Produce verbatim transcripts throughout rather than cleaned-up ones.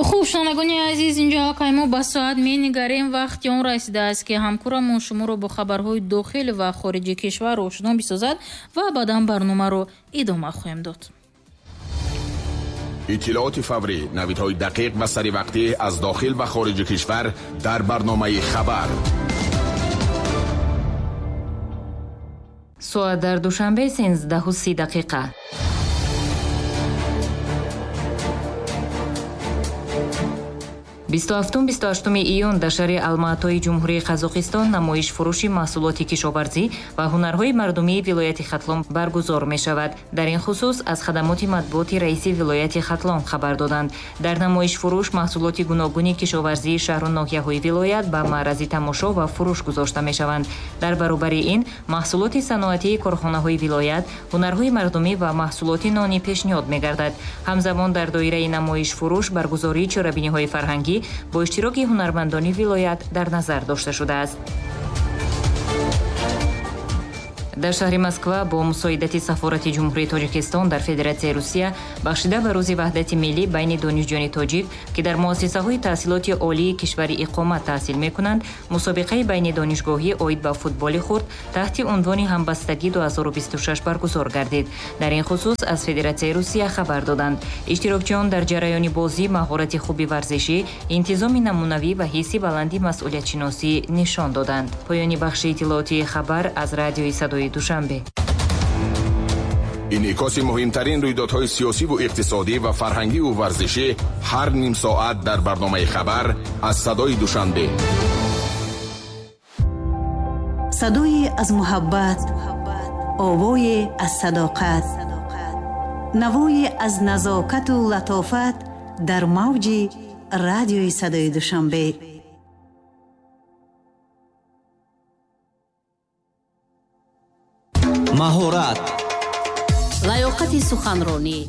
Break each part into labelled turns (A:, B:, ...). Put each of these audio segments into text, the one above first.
A: Хуб, шунавандагони азиз, инҷо аллакай мо ба соат менигарем. Вақти он расидааст, ки ҳамкорамон шуморо бо хабарҳои дохил ва хориҷи кишвар ошно бисозад ва баъдан барномаро идома хоҳем дод.
B: Иттилооти фаврӣ, навидҳои дақиқ ва саривақтӣ аз дохил ва хориҷи кишвар дар барномаи хабар.
C: Соат дар Душанбе сенздаҳу си дақиқа. бисту ҳафтум бисту ҳаштуми июн дар шаҳри Алматои Ҷумҳурии Қазоқистон намоиш фурӯши маҳсулоти кишоварзӣ ва ҳунарҳои мардумии вилояти Хатлон баргузор мешавад. Дар ин хусус аз хадамоти матбуоти раиси вилояти Хатлон хабар доданд. Дар намоиш фурӯш маҳсулоти гуногуни кишоварзии шаҳру ноҳияҳои вилоят ба маърази тамошо ва фурӯш гузошта мешаванд. Дар баробари ин маҳсулоти саноатии корхонаҳои вилоят, ҳунарҳои мардумӣ ва маҳсулоти нонӣ пешниҳод мегардад. Ҳамзамон дар доираи намоиш фурӯш баргузории чорабиниҳои фарҳангӣ бо иштироки ҳунармандони вилоят дар назар дошта шудааст. Дар шаҳри Москва бо мусоидати сафорати Ҷумҳурии Тоҷикистон дар Федератсияи Русия бахшида ба рӯзи ваҳдати миллӣ байни донишҷӯёни тоҷик, ки дар муассисаҳои таҳсилоти олии кишвари иқомат таҳсил мекунанд, мусобиқаи байни донишгоҳӣ оид ба футболи хурд таҳти унвони ҳамбастагӣ ду ҳазору бисту шаш баргузор гардид. Дар ин хусус аз Федератсияи Русия хабар доданд. Иштирокчиён дар ҷараёни бозӣ маҳорати хуби варзишӣ, интизоми намунавӣ ва ҳисси баланди масъулиятшиносӣ нишон доданд. Поёни бахши иттилоотии хабар аз радиои садои Душанбе.
B: Инъикоси муҳимтарин рӯйдодҳои сиёсиву иқтисодӣ ва фарҳангиву варзишӣ ҳар ним соат дар барномаи хабар аз садои Душанбе.
D: Садое аз муҳаббат, овое аз садоқат, навое аз назокату латофат дар мавҷи радиои садои Душанбе.
E: Маҳорат,
F: лаёқати суханронӣ,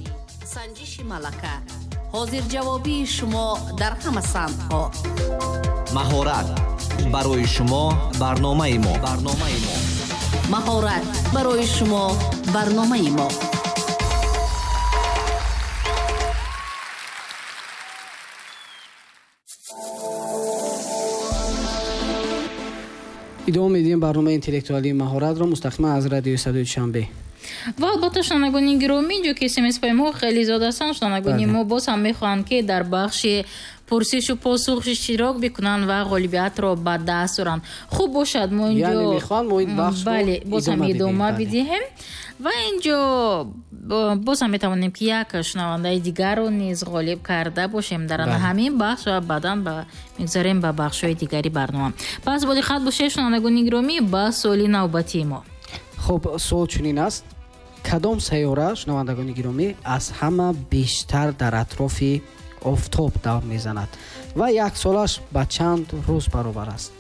F: санҷиши малака, ҳозирҷавобии шумо дар ҳама самтҳо.
E: Маҳорат барои шумо барномаи мо. Барномаи мо.
F: Маҳорат барои шумо барномаи мо.
G: Идома медиҳем барномаи интеллектуалии маҳоратро мустақиман аз радиои садои Душанбе.
A: Ва албатта шунавандагони гиромӣ, инҷо ки смс-паймҳо хеле зиёд ҳастанд, шунавандагони мо боз ҳам мехоҳанд, ки дар бахши пурсишу посух иштирок бикунанд ва ғолибиятро ба даст оранд. Хуб бошад, мо инҷо
G: яъне мехоҳанд мо ин бахшро
A: бале, боз ҳам идома бидиҳем ва инҷо боз ҳам метавонем, ки як шунавандаи дигарро низ ғолиб карда бошем дар ҳамин бахш ва баъдан мегузарем ба бахшҳои дигари барнома. Пас бо диққат бошед, шунавандагони гиромӣ, ба суоли навбатии мо.
G: Хуб, суол чунин аст: кадом сайёра, шунавандагони гиромӣ, аз ҳама бештар дар атрофи офтоб давр мезанад ва як солаш ба чанд рӯз баробар аст?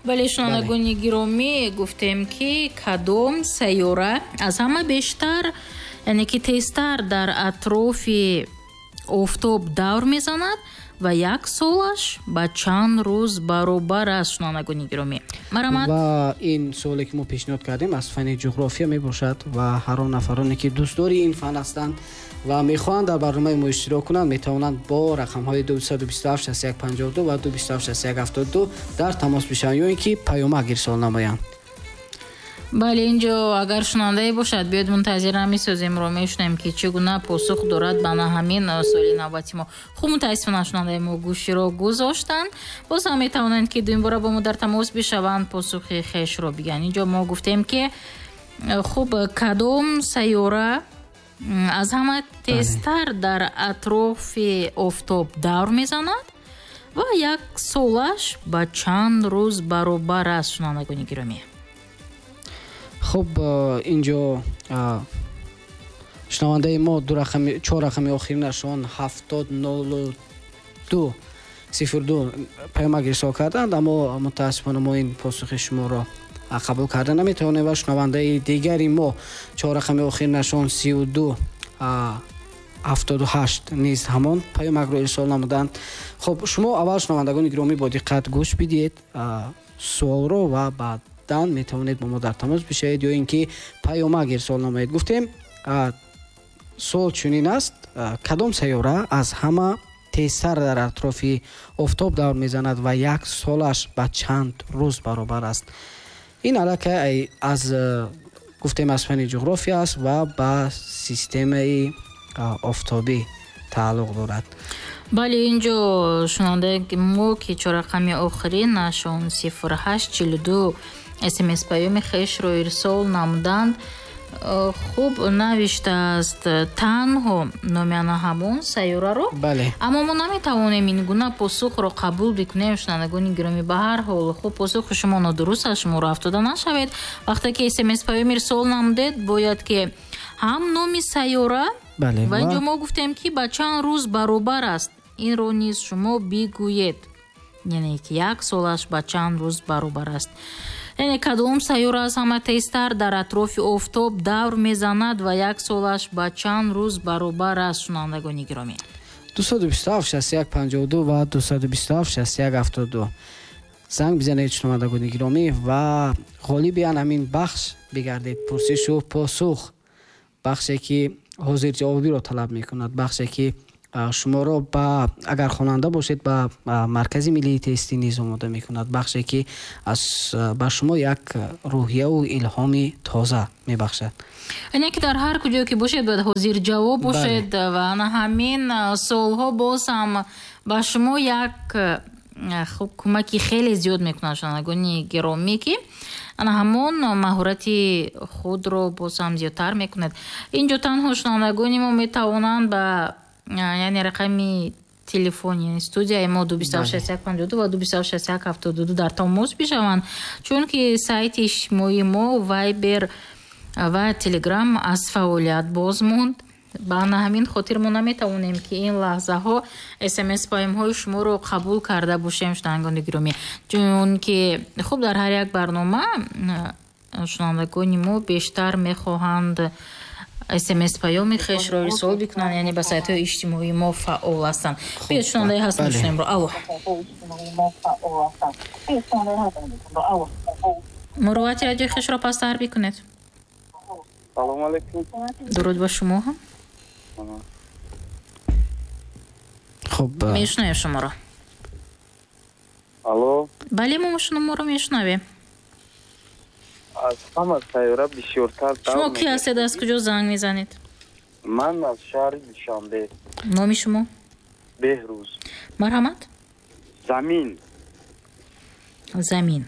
A: Бале, шунавандагони гиромӣ, гуфтем, ки кадом сайёра аз ҳама бештар, яъне ки тезтар дар атрофи офтоб давр мезанад ва як солаш ба чанд рӯз баробар аст, шунавандагони гиромӣ. Марҳамат.
G: Ва ин суоле, ки мо пешниҳод кардем, аз фани ҷуғрофия мебошад ва ҳар он нафароне, ки дӯстдори ин фан ҳастанд ва мехоҳанд дар барномаи мо иштирок кунанд, метавонанд бо рақамҳои дусаду бисту ҳафт шасту як панҷоҳу ду ва ду бисту ҳафт шасту як ҳафтоду ду дар тамос бишаванд ё ин ки паёмак ирсол намоянд.
A: Бале, инҷо агар шунавандае бошад, биёед мунтазир намесозем, ро мешунавем, ки чӣ гуна посух дорад ба на ҳамин суоли навбати мо. Хуб, мутаассифона шунавандаи мо гӯширо гузоштанд. Боз ҳам метавонанд, ки дуюмбора бо мо дар тамос бишаванд, посухи хешро бигӯянд. Инҷо мо гуфтем, ки хуб, кадом сайёра аз ҳама тезтар дар атрофи офтоб давр мезанад ва як солаш ба чанд рӯз баробар аст, шунавандагони гиромӣ.
G: Хуб, инҷо шунавандаи мо ду рақами, чор рақами охиринашон ҳафтод нолу ду сифр ду паёмак ирсол карданд, аммо мутаассифона мо ин посухи шуморо қабул карда наметавонем ва шунавандаи дигари мо чор рақами охиринашон сию ду ҳафтоду ҳашт низ ҳамон паёмакро ирсол намуданд. Хуб, шумо аввал, шунавандагони гиромӣ, бо диққат гӯш бидиҳед суолро ва баъд дан метавонед бо мо дар тамос бишавед ё ин ки паёмак ирсол намоед. Гуфтем, суол чунин аст: кадом сайёра аз ҳама тезтар дар атрофи офтоб давр мезанад ва як солаш ба чанд рӯз баробар аст? Ин аллакай аз гуфтем аз фанни ҷуғрофия аст ва ба системаи офтобӣ тааллуқ дорад.
A: Бале, инҷо шунавандаи мо ки чоррақами охиринашон сифр ҳашт чилу ду смс паёми хешро ирсол намуданд. Хуб навиштааст танҳо номи ана ҳамон сайёраро, аммо мо наметавонем ин гуна посухро қабул бикунем, шунавандагони гиромӣ. Ба ҳар ҳол, хуб, посухи шумо нодуруст аст, шуморо афтода нашавед. Вақте ки смс паём ирсол намудед, бояд ки ҳам номи сайёра ва инҷо мо гуфтем ки ба чанд рӯз баробар аст, инро низ шумо бигӯед, яъне ки як солаш ба чанд рӯз баробар аст. Яъне кадом сайёра аз ҳама тезтар дар атрофи офтоб давр мезанад ва як солаш ба чанд рӯз баробар аст, шунавандагони гиромӣ?
G: Дусаду бисту ҳафт шасту як панҷоҳу ду ва дусаду бисту ҳафт шасту як ҳафтоду ду занг бизанед, шунавандагони гиромӣ, ва ғолиби ан ҳамин бахш бигардед. Пурсишу посух, бахше ки ҳозирҷавобиро талаб мекунад, бахше ки шуморо ба агар хонанда бошед ба маркази миллии тестӣ низ омода мекунад, бахше ки аз ба шумо як рӯҳияву илҳоми тоза мебахшад.
A: Яъне ки дар ҳар куҷое ки бошед бояд ҳозирҷавоб бошед ва ана ҳамин суолҳо боз ҳам ба шумо як хуб кӯмаки хеле зиёд мекунад, шунавандагони гиромӣ, ки ана ҳамон маҳорати худро боз ҳам зиёдтар мекунад. Инҷо танҳо шунавандагони мо метавонанд ба яъне рақами телефони студияи мо ду бисту ҳафт шасту як панҷоҳу ду ва ду бисту ҳафт шасту як ҳафтоду ду дар тамос бишаванд, чунки сайти иҷтимоии мо Вайбер ва Телеграм аз фаъолият боз монд. Ба ҳамин хотир мо наметавонем ки ин лаҳзаҳо смс паёмҳои шуморо қабул карда бошем, шунавандагони гиромӣ, чунки хуб дар ҳар як барнома шунавандагони мо бештар мехоҳанд смс паёми хешро ирсол бикунанд, яъне ба сайтҳои иҷтимоии мо фаъол ҳастанд. Биёед шунавандаи ҳаст мешунавемро. Алло, муровати радиои хешро пасттар бикунед.
H: Салому алейкум.
A: Дуруд ба шумо ҳам.
G: Хуб,
A: мешунавем шуморо.
H: Алло.
A: Бале, мо шуморо мешунавем.
H: Аз ҳама сайёра бисёртар.
A: Шумо ки ҳастед, аз куҷо занг мезанед?
H: Ман аз шаҳри Душанбе.
A: Номи шумо?
H: Беҳрӯз.
A: Марҳамат.
H: Замин.
A: Замин.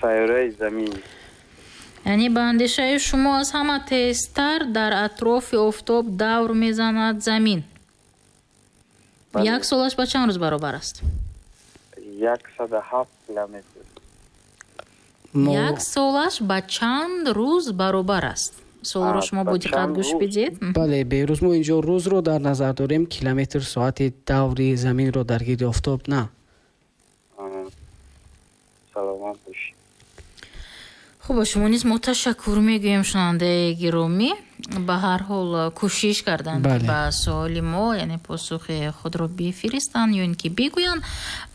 H: Сайёраи замин.
A: Яъне ба андешаи шумо аз ҳама тезтар дар атрофи офтоб давр мезанад замин. Як солаш ба чанд рӯз баробар аст?
H: Яксаду ҳафт километр.
A: Як солаш ба чанд рӯз баробар аст? Суолро шумо бо диққат гӯш бидиҳед.
G: Бале, Беҳрӯз, мо инҷо рӯзро дар назар дорем, километр соати даври заминро дар гирди офтоб на.
H: Саломат бошед.
A: Хуб, ба шумо низ мо ташаккур мегӯем, шунавандаи гиромӣ. Ба ҳар ҳол кӯшиш карданд ба суоли мо, яъне посухи худро бифиристанд ё ин ки бигӯянд.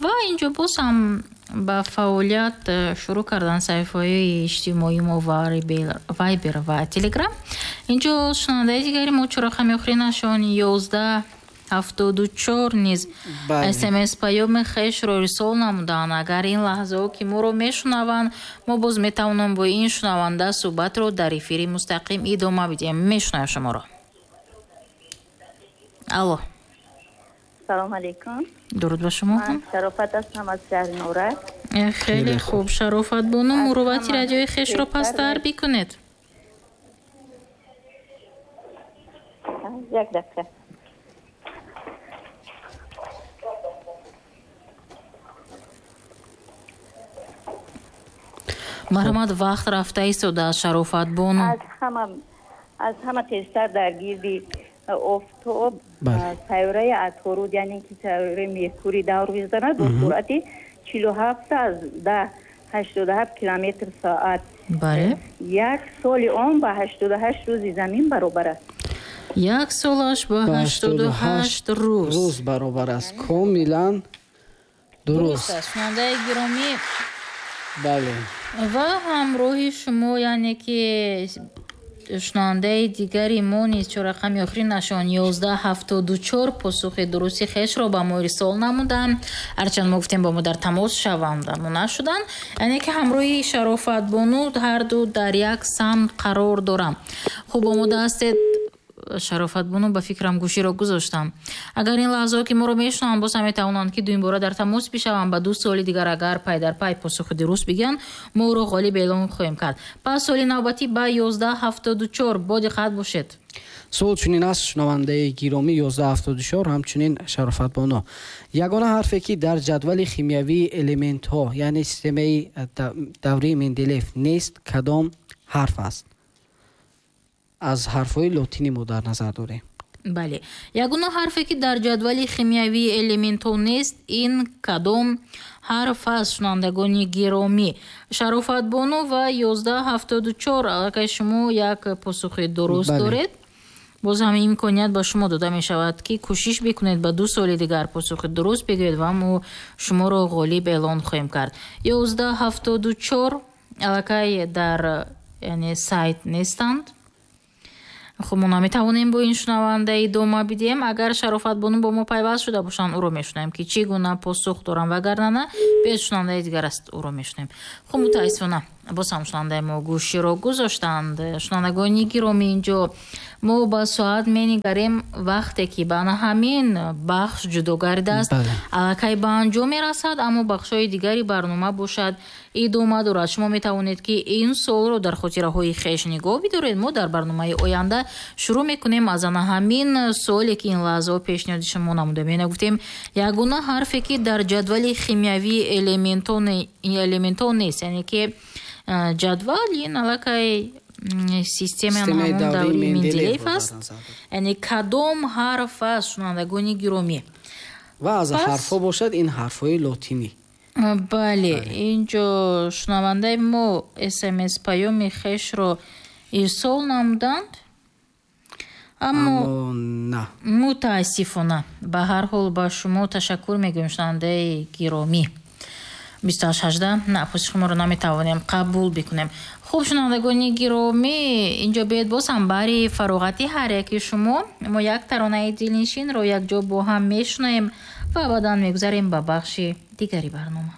A: Ва инҷо боз ҳам ба фаъолият шурӯъ карданд саҳифаҳои иҷтимоии мо Вайбер ва Телеграм. Инҷо шунавандаи дигари мо чоррақами охиринашон ёздаҳ ҳафтоду чор низ смс паёми хешро ирсол намуданд. Агар ин лаҳзаҳо ки моро мешунаванд, мо боз метавонем бо ин шунаванда суҳбатро дар эфири мустақим идома бидиҳем. Мешунавем шуморо. Алло.
I: Салом алейкум.
A: Дуруд ба шумо.
I: Ман Шарофат ҳастам аз шаҳри Норак.
A: Хеле хуб, Шарофат бону, муровати радиои хешро пасттар бикунед.
I: Як дақиқа.
A: Марҳамат, вақт рафта истодааст, Шарофат бону.
I: Аз ҳама аз ҳама тезтар дар гирди офтоб сайёраи Аторуд, яъне ки сайёраи Меркурий давр мезанад бо суръати чилу ҳафт аз даҳ ҳаштоду ҳафт километр соат.
A: Бале.
I: Як соли он ба ҳаштоду ҳашт рӯзи замин баробар аст.
A: Як солаш ба ҳаштоду ҳашт рӯз
G: рӯз баробар аст. Комилан дуруст
A: аст, шунавандаи гиромӣ.
G: Бале.
A: Ва ҳамроҳи шумо, яъне ки Шунавандаи дигари мо низ чор рақами охиринашон ёздаҳ ҳафтоду чор посухи дурусти хешро ба мо ирсол намуданд. Ҳарчанд мо гуфтем ба мо дар тамос шаванд, аммо нашуданд. Яъне ки ҳамроҳи Шарофатбону ҳарду дар як самт қарор доранд. Хуб, омода ҳастед? Шарофатбону, ба фикрам, гӯширо гузоштам. Агар ин лаҳзаҳо ки моро мешунаванд, боз ҳам метавонанд ки дуюмбора дар тамос бишаванд. Ба ду суоли дигар агар пай дар пай посухи дуруст бигӯянд, мо ӯро ғолиб эълон хоҳем кард. Пас суоли навбатӣ ба ёздаҳ ҳафтоду чор, бо диққат бошед.
G: Суол чунин аст, шунавандаи гиромӣ ёздаҳ ҳафтоду чор, ҳамчунин Шарофатбону. Ягона ҳарфе ки дар ҷадвали химиявии элементҳо, яъне системаи даврии Менделеев нест, кадом ҳарф аст? Аз ҳарфҳои лотинӣ мо дар назар дорем.
A: Бале, ягона ҳарфе ки дар ҷадвали химиявии элементҳо нест, ин кадом ҳарф аст, шунавандагони гиромӣ? Шарофатбону ва ёздаҳ ҳафтоду чор, аллакай шумо як посухи дуруст доред. Боз ҳам имконият ба шумо дода мешавад, ки кӯшиш бикунед, ба ду соли дигар посухи дуруст бигӯед ва мо шуморо ғолиб эълон хоҳем кард. Ёздаҳ ҳафтоду чор аллакай дар, яъне, сайт нестанд. Хуб, мо наметавонем бо ин шунаванда идома бидиҳем. Агар Шарофатбону бо мо пайваст шуда бошанд, ӯро мешунавем, ки чӣ гуна посух дорам, вагарна на, биёед, шунавандаи дигар аст, ӯро мешунавем. Хуб, мутаассифона, боз ҳам шунавандаи мо гӯширо гузоштанд. Шунавандагони гиромӣ, инҷо мо ба соат менигарем, вақте ки ба на ҳамин бахш ҷудо гардидааст, аллакай ба анҷом мерасад, аммо бахшҳои дигари барнома бошад идома дорад. Шумо метавонед, ки ин суолро дар хотираҳои хеш нигоҳ бидоред. Мо дар барномаи оянда шурӯъ мекунем аз ана ҳамин суоле, ки ин лаҳзаҳо пешниҳоди шумо намудем. Яъне гуфтем, ягона ҳарфе ки дар ҷадвали химиявии элементҳо нест, яъне ки ҷадвал ин аллакай системаи ҳамон даври Менделеев аст, яъне кадом ҳарф аст, шунавандагони гиромӣ?
G: Ва аз ҳарфҳо бошад, ин ҳарфҳои лотинӣ.
A: Бале, инҷо шунавандаи мо смс паёми хешро ирсол намуданд, аммо
G: на,
A: мутаассифона. Ба ҳар ҳол, ба шумо ташаккур мегӯем, шунавандаи гиромӣ. Бисту ҳашт ҳаждаҳ, на, посухи моро наметавонем қабул бикунем. Хуб, шунавандагони гиромӣ, инҷо биёед, боз ҳам баҳри фароғати ҳар яки шумо мо як таронаи дилнишинро якҷо бо ҳам мешунавем ва баъдан мегузарем ба бахши дигари барнома.